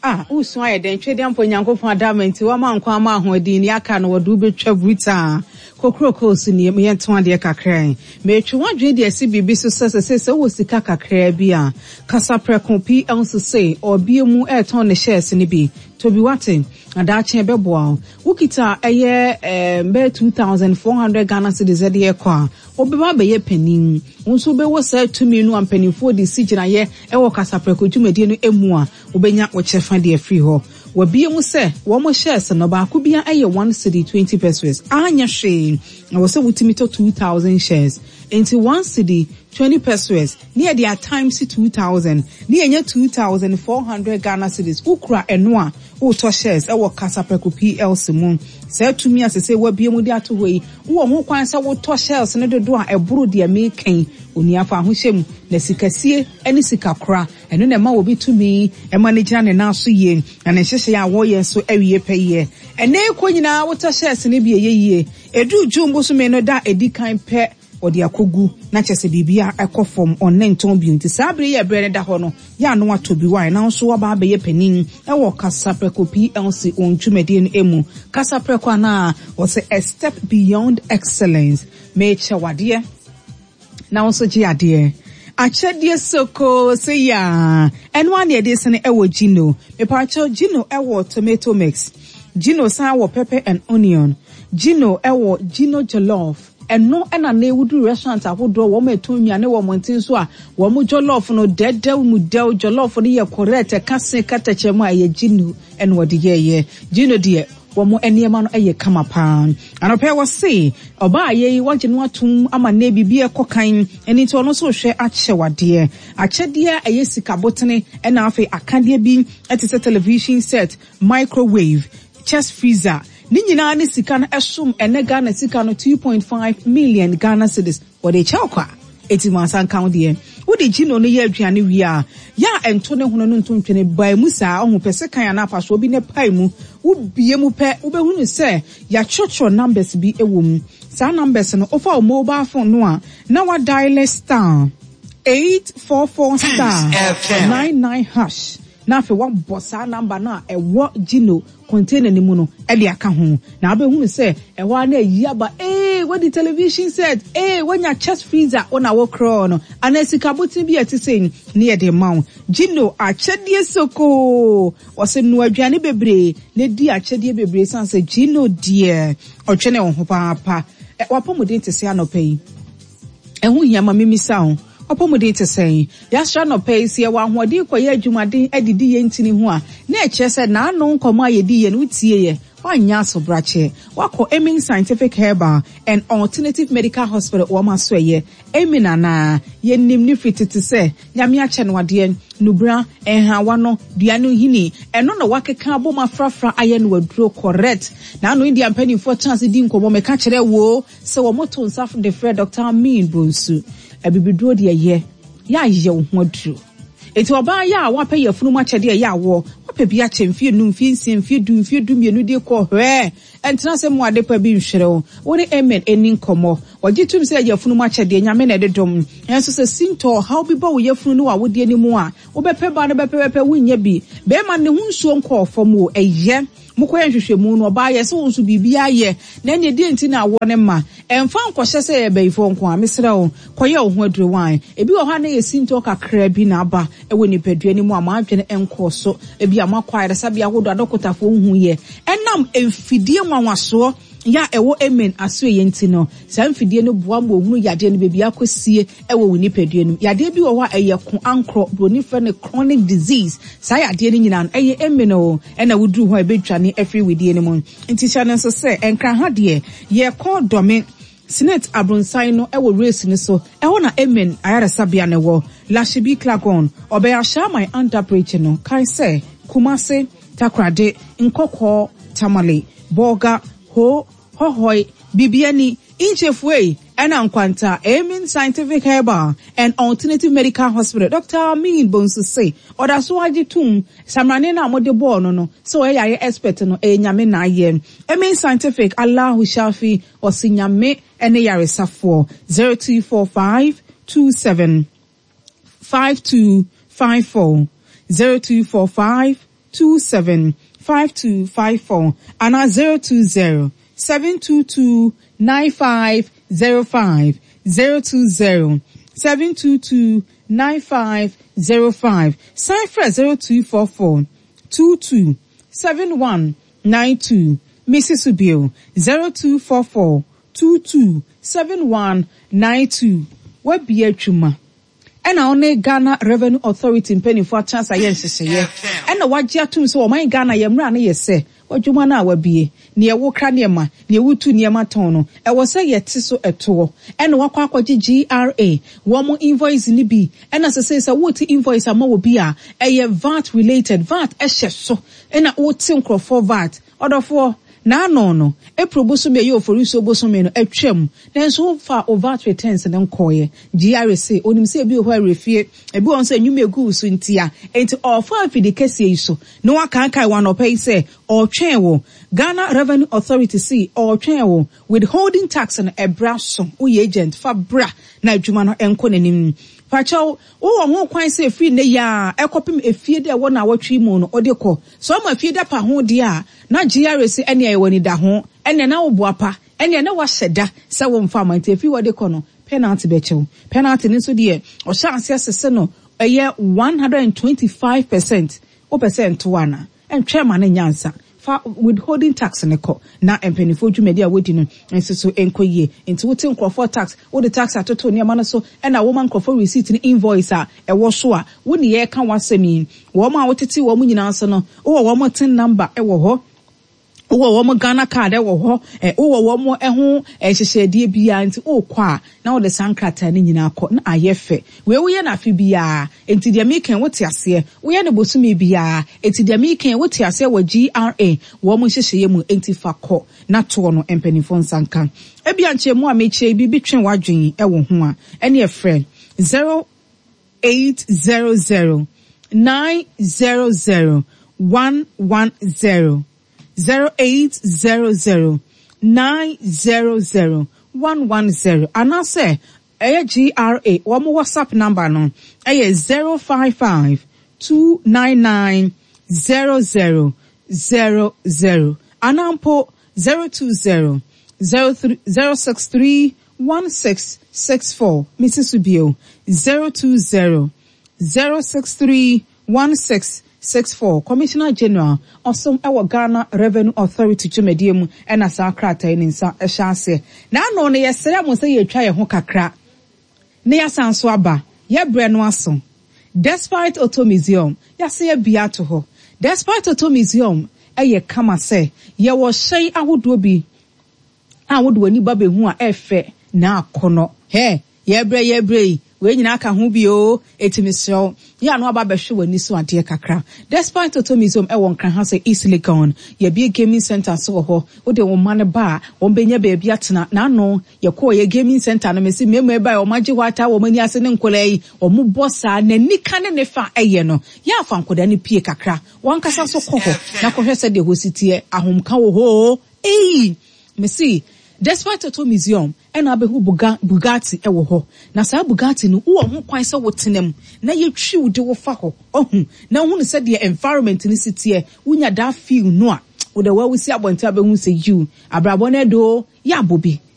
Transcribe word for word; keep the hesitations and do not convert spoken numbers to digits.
Ah, wosu ayɛ dɛn? Twɛdeɛ mpo Nyankopɔn adama nti wama nkwa ama ahoɔden ni aka no wɔde wobɛtwa brutaa. Kokroko so nie, yɛnto adeɛ kakra yi. Metwe w'adwene de asi biribi so sɛ sɛ sɛ wowɔ sika kakra bi a, Kasaprɛko P L C ɔbie mu ɛretɔn ne shares no bi. Tobi wate, adaakye bɛboa wo. Wokita ɛyɛ ɛɛ bɛyɛ two thousand four hundred Ghana cedis ɛde ɛkɔ a, wobɛba abɛyɛ panin. Wo nso wobɛwɔ saa tumi no a mpanimfoɔ de si gyinaeɛ ɛwɔ Kasaprɛko dwumadie no emu a, wobɛnya wo kyɛfa de afiri hɔ. Wabie mu sɛ wɔn shares no baako bia ɛyɛ one cedi twenty pesewas. Anyɛ hwee. Na wɔ sɛ wotumi tɔ two thousand shares. Nti one cedi twenty pesewas ne yɛde a times two thousand ne yɛnyɛ two thousand four hundred Ghana cedis. Wokura ɛno a wotɔ shares ɛwɔ Kasaprɛko P L C mu. Saa tumi a sese wabie mu de ato hɔ yi, wowɔ ho kwan sɛ wotɔ shares no dodo a ɛboro deɛ meekɛn. Onua, fa ahohyɛ mu na sikasie ne sikakora ɛno na ɛma obi tumi ɛma no gyina ne nan so yie na ne nhyehyɛeɛ a wɔyɛ nso awie pɛ yie. Ɛnɛ kɔ nyinaa wotɔ shares no bi, ɛyɛ yie. Ɛduru June bosome no da ɛdi kan pɛ, wɔde akɔgu na kyerɛ sɛ biribi a ɛkɔ fam ɔne ntɔn bio. Nti saa bere yɛ berɛ no da hɔ no yɛ ano atɔ bi wae na nso waba abɛyɛ panin ɛwɔ Kasaprɛko P L C wɔn dwumadie no mu. Kasaprɛko anaa wɔsɛ a step beyond excellence. Meekyɛ wadeɛ na wo nso gye adeɛ akyɛdeɛ soko sɛ yaa ɛno a ne yɛde sene ɛwɔ Gino. Mepaakyɛw, Gino ɛwɔ tomato mix, Gino san wɔ pepper and onion, Gino ɛwɔ Gino jollof. Ɛno ɛna na ewudu restaurant ahodoɔ wɔn ɛtɔn nnuane wɔ mmɔnten so a wɔn jollof no dɛdɛw mu dɛw. Jollof no yɛ correct, ɛka se katakyɛ mu a ɛyɛ Gino ɛna wɔde yɛɛyɛ. Gino deɛ, wɔn nneɛma no yɛ kama paa. Anɔpɛ wɔ se ɔbaa yɛ yi wɔgye no atum ama ne biribi ɛkɔ kan ɛne nti ɔno nso hwɛ akyɛ wadeɛ akyɛdeɛ a ɛyɛ sika botene ɛna afei akadeɛ bi ɛte sɛ television set, microwave, chest freezer. Ne nyinaa ne sika no ɛsom ɛnɛ Ghana sika no two point five million Ghana cedis. Wɔde kyɛw kwa eti mu asa nka ho deɛ wode Gino no yɛ aduane wie a, yɛ a ɛnto ne hono no nto ntwene baa mu saa. Ɔho pɛ sɛ kan anaa apasoɔ bi ne pae mu, wobie mu pɛ, wobɛhunu sɛ yɛatwerɛtwerɛ numbers bi wɔ mu. Saa numbers no, wofa wo mobile phone no a na wadial star eight four four star nine nine hash na afei wabɔ saa number no a ɛwɔ Gino container no mu no ɛde aka ho na wobɛhunu sɛ ɛhɔ a na ayi aba. Ee, wadi television set, ee, wanya chest freezer, wo na wokorɔɔ no anaa sika boten bi a ɛte sɛ ne yɛde ma wo. Gino akyɛdeɛ sokoo, wɔsɛ noa aduane bebree na di akyɛdeɛ bebree san sɛ Gino deɛ ɔtwene wo ho paapa. Ɛ wapɔmuden te sɛ anɔpɛ yi, ɛho hia ma mimisa ho. Wapɔmuden te sɛn? Yɛasra nɔpɛ yi sɛ yɛwɔ ahoɔden kɔyɛ adwumaden adidi yɛn ntini ho a, na ɛkyerɛ sɛ n'ano nkɔmmɔ a yɛdi yɛ no wotie yɛ woanyɛ asobrakyɛ. Wakɔ Amen Scientific Herbal and Alternative Medical Hospital, wɔn aso ɛyɛ Amen anaa yɛnim ne firi tete sɛ Nyame akyɛ no adeɛ nubra nhawa no dua no hini ɛno na wakeka abom afrafra ayɛ no aduro correct. Na ano India mpanimfoɔ tena ase di nkɔmmɔ. Meka kyerɛ wo sɛ wɔn to nsa de frɛ Doctor Amin Bonsu. Abibiduro deɛ yɛ yɛayɛ wo ho aduro. Eti ɔbaa yɛ a wapɛ yɛ funum akyɛdeɛ yɛ awɔ wapɛ bi akyɛ mfie num, mfie nsia, mfie du, mfie du mmienu de kɔ hwɛɛ ɛntena sɛ mu ade pa bi nhwerɛ wo. Wo ne Amen ani nkɔmmɔ. Wɔgye tum sɛ yɛ funum akyɛdeɛ Nyame na ɛde dom. Ɛnso sɛ sintɔ ɔhaw bi bɔ wo yɛfunu ne w'awodeɛ no mu a, wobɛpɛ ba no bɛpɛbɛpɛ wonnya bi. Bɛrima ne ho nsuo nkɔɔ fam o, ɛyɛ mokɔyɛ nhwehwɛmu no ɔbaa yɛ sɛ wo nso biribi ayɛ na ɛneɛ deɛ nti na awɔ ne ma ɛmfa nkɔhyɛ sɛ yɛ bɛyifoɔ nko a. Mesrɛ wo, kɔyɛ wo ho aduro wan. Ebi wɔ hɔ a na yɛ sintɔ kakra bi na aba ɛwɔ nipadua no mu a mo adwene nkɔɔ so. Ebi a moakɔ ayaresabea ahodoɔ, adɔkotafoɔ nhu yɛ. Ɛnam mfidie nwanwasoɔ yɛ a ɛwɔ Amen asoɛyɛ nti no, saa mfidie no boa ma ohunu yadeɛ no baabi akɔsie ɛwɔ wo nipadua no mu. Yadeɛ bi wɔ hɔ a ɛyɛ ko ankorɔ, buroni frɛ no chronic disease. Saa yadeɛ no nyinaa no ɛyɛ Amen o ɛna woduru hɔ a ɛbɛdwane afiri widie no mu. Nti hyɛ no nso sɛ Nkran ha deɛ, yɛkɔ Dɔme Senate abronsan no ɛwɔ race no so, ɛhɔ na Amen ayaresabea no wɔ. Lashibi Klagon ɔbɛyɛ Ahyɛaman under bridge no. Kae sɛ Kumase, Takorade, Nkɔkɔɔ, Tamale, Bɔɔga, Ho, Hɔhɔe, Bibiani, Nkyefue ɛna Nkwanta, Amen Scientific Herbal and Alternative Medical Hospital, Doctor Amin Bonsu se ɔda so agye tum samrane no a mode bɔɔ no no sɛ ɔyɛ yare expert no, ɛyɛ Nyame na ayɛ. Amen Scientific, Allahu Shafi, ɔse Nyame ɛne yaresafoɔ. zero two four five two seven five two five four, zero two four five. two seven five two five four anaa zero two zero seven two two nine five zero five zero two zero seven two two nine five zero five. San frɛ zero two four four two two seven one nine two. Misi so bio zero two four four two two seven one nine two. Wabie atwuma ɛna ɔne Ghana Revenue Authority mpanimfoɔ atena ase ayɛ nhyehyɛeɛ ɛna wagye atom sɛ ɔman Ghana yɛ mmara no yɛ sɛ wadwuma no a wabie nea wokra nneɛma nea wotu nneɛma tɔn no ɛwɔ sɛ yɛte so ɛtoɔ ɛna wakɔ akɔgye G R A wɔn invoice ni bi ɛna sɛ sɛ sɛ wote invoice ama wɔ bi a ɛyɛ V A T related, V A T ɛhyɛ so ɛna wote nkurɔfoɔ V A T. Ɔdɔfoɔ, n'ano no April bosome ɛyɛ Oforisuo bosome no atwam nanso wofa o V A T returns ne nkɔɔyɛ. G R A se onim sɛ ebi wɔ hɔ awerɛfie, ebi wɔ nso enyim egu so ntia nti ɔfa afidi kɛseɛ yi so na wakankan wɔn anɔpɛ yi sɛ ɔretwɛn wɔ Ghana Revenue Authority si ɔretwɛn wɔ withholding tax no ɛbra so. Woyɛ agent, fa bra na adwuma no nkɔ n'anim. Pakyɛw, wowɔ ho kwan sɛ efiri ne yaa ɛkɔpem efie dɛ ɛwɔ na awɔtwe mu no ɔde kɔ so ɔma efie da pa ho deɛ a na G R A si ɛnea ɛwɔ ni da ho ɛnea na wo pa ɛnea na wahyɛ da sɛ wɔmfa ama nti efiri wɔde kɔ no penalty bɛkyɛw. Penalty no nso deɛ ɔhyɛ aseɛ sese no ɛyɛ one hundred and twenty-five percent. Wopɛ sɛ nto ana ɛntwɛn ma ne nyansa fa withholding tax ne kɔ na mpanimfoɔ dwumadi a wodi no nso so nkɔ yie. Nti wote nkurɔfoɔ tax, wode tax atoto nneɛma no so ɛna woma nkurɔfoɔ receipt ne invoice a ɛwɔ so a wo ne yɛreka w'asɛm yi, wɔn a wotete wɔn nyinaa so no wowɔ wɔn TIN number ɛwɔ hɔ, wowɔ wɔn Ghana Card ɛwɔ hɔ ɛ, wowɔ wɔn ɛho nhyehyɛdeɛ biara nti wokɔ a na wode saa nkrataa no nyinaa kɔ na ayɛ fɛ. Wei woyɛ no afe biara nti deɛ meka wote aseɛ, woyɛ no bosome biara nti deɛ meka wote aseɛ wɔ G R A wɔn nhyehyɛeɛ mu nti fa kɔ na toɔ no mpanimfoɔ nsa nka. Ebia nkyɛn a mekyerɛ bi bi twe w'adwene ɛwɔ ho a ɛne ɛfrɛ zero eight zero zero nine zero zero one one zero zero eight zero zero nine zero zero one one zero anaasɛ ɛyɛ G R A wɔn WhatsApp number no ɛyɛ zero five five two nine nine zero zero zero zero anampo zero two zero zero three zero six three one six six four. Mrs Subio zero two zero zero six three one six six four. Commissioner General ɔsom ɛwɔ Ghana Revenue Authority dwumadie mu ɛna saa krataa yi ne nsa ɛhyɛ aseɛ n'ano no. Yɛsrɛ mo sɛ yɛtwa yɛn ho kakra na yɛasan so aba. Yɛbrɛ no aso. Despite Auto Museum yɛase yɛbea ato hɔ. Despite Auto Museum ɛyɛ kama sɛ yɛwɔ hyɛn ahodoɔ bi a wode w'ani ba bɛhu a ɛfɛ na akɔnɔ hɛ. Yɛbrɛ yɛbrɛ yi wei nyinaa ka ho bio eti mesrɛw yɛ ano aba abɛhwɛ w'ani so adeɛ kakra. Despite Auto Museum ɛwɔ Nkran ha sɛ East Legon. Yɛbie gaming center so wɔ hɔ. Wode wɔn mma no ba a wɔn bɛnya baabi atena. N'ano yɛkɔɔ yɛ gaming center no mesi mmarima ba a wɔn agye hɔ ata wɔn ani ase ne nkɔlaa yi wɔn bɔ saa n'ani ka ne ne fa ɛyɛ no yɛ afa nkɔdaa no pie kakra. Wɔn ankasa so kɔ hɔ na kɔhwɛ sɛdeɛ hɔ si teɛ. Ahomka wɔ hɔ eyi mesi Despite Auto Museum ɛna abɛhu Buga, bugatti ɛwɔ hɔ na saa Bugatti no wowɔ ho kwan sɛ wotena mu na yɛtwi wo de wo fa hɔ ɔhu na wohunu sɛdeɛ environment no si teɛ. Wonya that feel no a wode wawusi abɔnten abɛhu sɛ yiw abrabɔ no ɛdo yɛ abɔ bi.